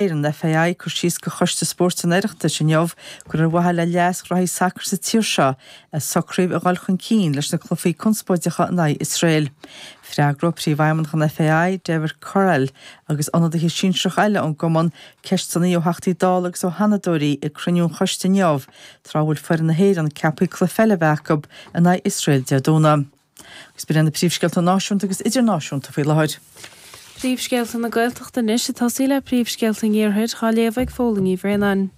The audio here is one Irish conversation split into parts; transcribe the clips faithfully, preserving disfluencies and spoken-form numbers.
Éireann FAI cur síos go Choiste Spóirt an Oireachtais inniu gur ar mhaithe le leas ghraithí sacair sa tír seo a socraíodh a dhul chun cinn leis na cluichí conspóideacha in aghaidh Iosrael. Freagróidh Príomhfheidhmeannach an FAI, David Courell, agus ionadaithe sinsearacha eile ón gcumann ceisteanna ó Theachtaí Dála agus ó Sheanadóirí ag cruinniú an choiste inniu tráth a bhfuil foireann na hÉireann ceaptha cluiche peile a bheith acu in aghaidh Iosrael Dé Domhnaigh. Agus b'in na príomhscéalta náisiúnta agus idirnáisiúnta faoi láthair. Príomhscéalta na Gaeltachta anois ag tosaí le príomhscéalta an Iarthair á léamh ag Fódhla Ní Bhraonáin.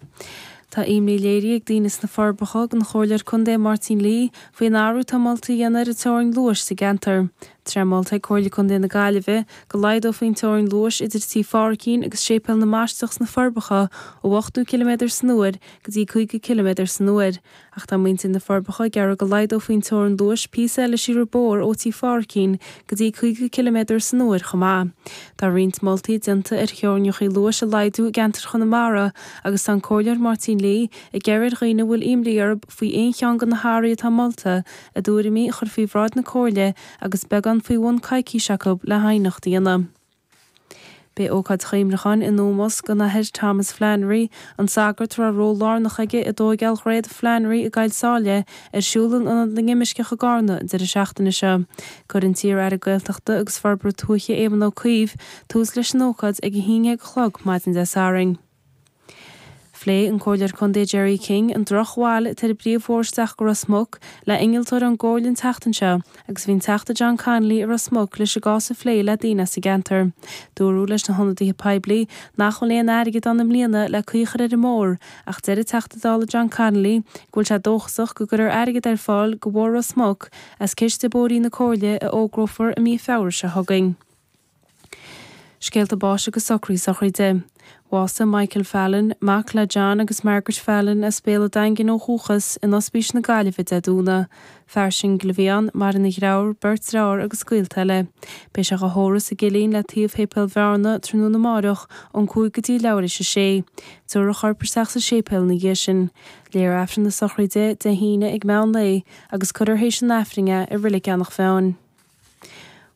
Tá imní léirithe ag daoine sna Forbacha don Chomhairleoir Contae Máirtín Lee faoin athrú atá molta a dhéanamh ar an teorainn luais sa gceantar. Tá molta ag Comhairle Contae na Gaillimhe go laghdófaí an teorainn luais idir Tí Phádraicín agus Séipéal na mBaisteach sna Forbacha ó ochtó ciliméadar san uair go dtí caoga ciliméadar san uair. Ach tá muintir na Forbacha ag iarraidh go laghdófaí an teorainn luais píosa eile siar an bóthar ó Tí Phádraicín go dtí caoga ciliméadar san uair chomh maith. Tá roinnt moltaí déanta ar theorainneacha luais a laghdú i gceantar Chonamara agus tá an Comhairleoir Máirtín Lee ag iarraidh ar dhaoine a bhfuil imní orthu faoi aon cheann de na hathruithe atá molta a dtuairimí a chur faoi bhráid na Comhairle agus beagán faoi bhun coicís acu le haighneacht a dhéanamh. Beidh ócáid chuimhneacháin in ómós don Athair Thomas Flannery, an sagart a raibh ról lárnach aige i dtógáil Dhroichead Flannery i gCoill Sáile ar siúl in Ionad na nImirceach i gCarna an deireadh seachtaine seo. Cuirfidh an t-iar-aire Gaeltachta agus Forbartha Tuaithe Éamon Ó Cuív tús leis an ócáid ag a haon déag a chlog maidin Dé Sathairn. Phléigh an Comhairleoir Contae Jerry King an drochbhail atá ar an bpríomhbhóthar isteach go Ros Muc le innealtóir ón gComhairle an tseachtain seo agus bhí an Teachta John Connolly i Ros Muc leis an gcás a phlé le daoine as an gceantar. Dúradh leis na hionadaithe poiblí nach bhfuil aon airgead ann i mbliana le caoi a chur ar an mbóthar ach deir an Teachta Dála John Connolly go bhfuil sé dóchasach go gcuirfear airgead ar fáil do Bhóthar Ros Muc as ciste bóithrí na Comhairle a fhógrófar i mí Feabhra seo chugainn. Scéalta báis agus socruithe sochraide. Bhásaigh Michael Fallon, mac le John agus Margaret Fallon as Béal an Daingin ó dhúchas in Ospís na Gaillimhe Dé Domhnaigh. Fear singil a bhí ann, maireann a dheartháir, beirt deartháir agus gaolta eile. Beidh sé á thórramh sa gCillín le taobh Shéipéal Bhearna tráthnóna amárach ón cúig go dtí leathuair tar éis a sé. Tabharfar a chorp isteach sa séipéal ina dhiaidh sin. Léifear Aifreann na sochraide Dé hAoine ag meán lae agus cuirfear théis an Aifrinn é i Reilig Eanach Mheáin.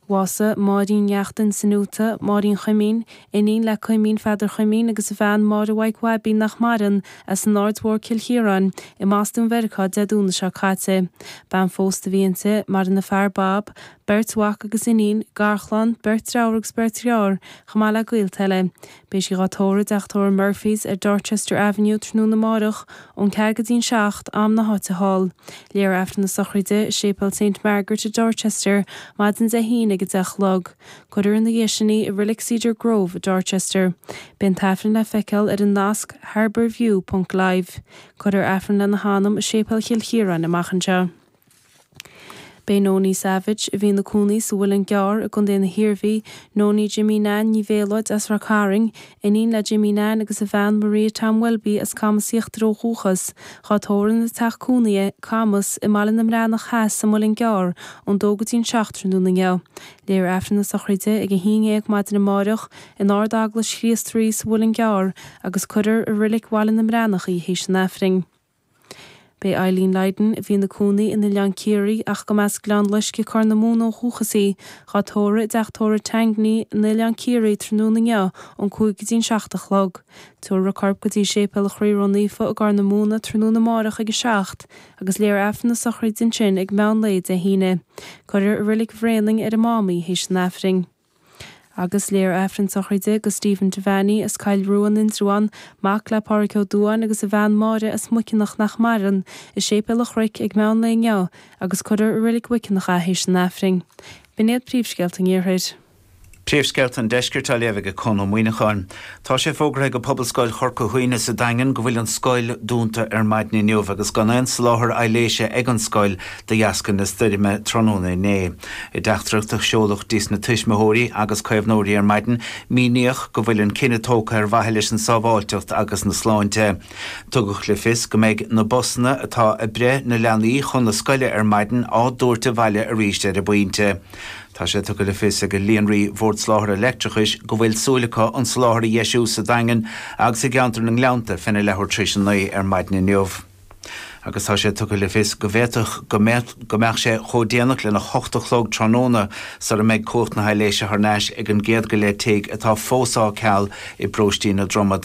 Bhásaigh Máirín Neachtain Sinuta, Máirín Chuimín, iníon le Cuimín Pheadar Chuimín agus a bhean Máire Mhaidhc Bhaibín nach maireann as an Aird Mhór Cill Chiaráin i mBostún Mheiriceá Dé Domhnaigh seo caite. Bean phósta a bhí inti, maireann a fear Bob, beirt mhac agus iníon, garchlann, beirt deartháir agus beirt dheartháir, chomh maith le gaolta eile. Beidh sí á tórramh i dteach tórraimh Murphy's ar Dorchester Avenue tráthnóna amárach ón ceathair go dtí'n seacht am na háite thall. Léifear Aifreann na sochraide i Séipéal St Margaret i Dorchester maidin Dé hAoine ag a deich a chlog. Cuirfear ina dhiaidh sin í i Reilig Cedar Grove i Dorchester. Beidh an t-aifreann le feiceáil ar an nasc harbourview.live. Cuirfear Aifreann lena hanam i Séipéal Chill Chiaráin amach anseo. Beidh Nonie Savage a bhí ina cónaí sa Mhuileann gCearr i gContae na hIarmhí, Nonie Jimmy Nan Ní Bhéaloid as Ráth Cairn, iníon le Jimmy Nan agus a bhean Maria Tom Welby as Camas Íochtar ó dhúchas, á tórramh ina teach cónaithe, Camas, i mBaile na mBreathnach Theas sa Mhuileann gCearr ón dó go dtí'n seacht tráthnóna inniu. Léifear Aifreann na sochraide ag a haon déag maidin amárach in Ard-Eaglais Chríost Rí sa Mhuileann gCearr agus cuirfear i Reilig Bhaile na mBreathnach í théis an Aifrinn. Beidh Eileen Lydon a bhí ina cónaí in Oileán Ciarraí ach go mb'as Gleann Loisce Corr na Móna ó dhúchas í, á tórramh i dteach tórraimh Tangney in Oileán Ciarraí tráthnóna inniu ón cúig go dtí'n seacht a chlog. Tabharfar a corp go dtí Séipéal an Chroí Ró-Naofa i gCorr na Móna tráthnóna amárach ag a seacht agus léifear Aifreann na sochraide ansin ag meán lae Dé hAoine. Cuirfear i Reilig Bhréanainn ar an Mám í théis an Aifrinn. Agus léifear Aifreann sochraide do Stephen Devaney as Cill Rua in Indreabhán, mac le Pádraig Ó Dúáin agus a bhean Máire as Muiceanach nach maireann, i Séipéal an Chnoic ag meán lae inniu agus cuirfear i Reilig Mhuiceanach é théis an Aifrinn. B'in iad príomhscéalta an Iarthair. Príomhscéalta an Deiscirt á léamh ag Conn Ó Muíneacháin. Tá sé fógartha ag Pobalscoil Chorca Dhuibhne sa Daingean go bhfuil an scoil dúnta ar maidin inniu agus gan aon soláthar aibhléise ag an scoil de dheasca na stoirme tráthnóna inné. I dteachtaireacht a seoladh chuig na tuismitheoirí agus caomhnóirí ar maidin, míníodh go bhfuil an cinneadh tógtha ar mhaithe leis an sábháilteacht agus na sláinte. Tugadh le fios go mbeidh na busanna atá ag breith na leanaí chun na scoile ar maidin á dtabhairt abhaile arís ar an bpointe. Tá sé tugtha le fios ag Líonraí Bhord Soláthair Leictreachais go bhfuil súil acu an soláthar a dheisiú sa Daingean agus i gceantar na nGleannta féna leathuair tar éis a naoi ar maidin inniu. agus tá sé tugtha le fios go bhféadfadh go mbeadh sé chomh déanach lena hocht a chlog tráthnóna sara mbeidh cumhacht na haibhléise thar n-ais ag an gcéad go leith tigh atá fós á ceal i bparóistí na Dromad.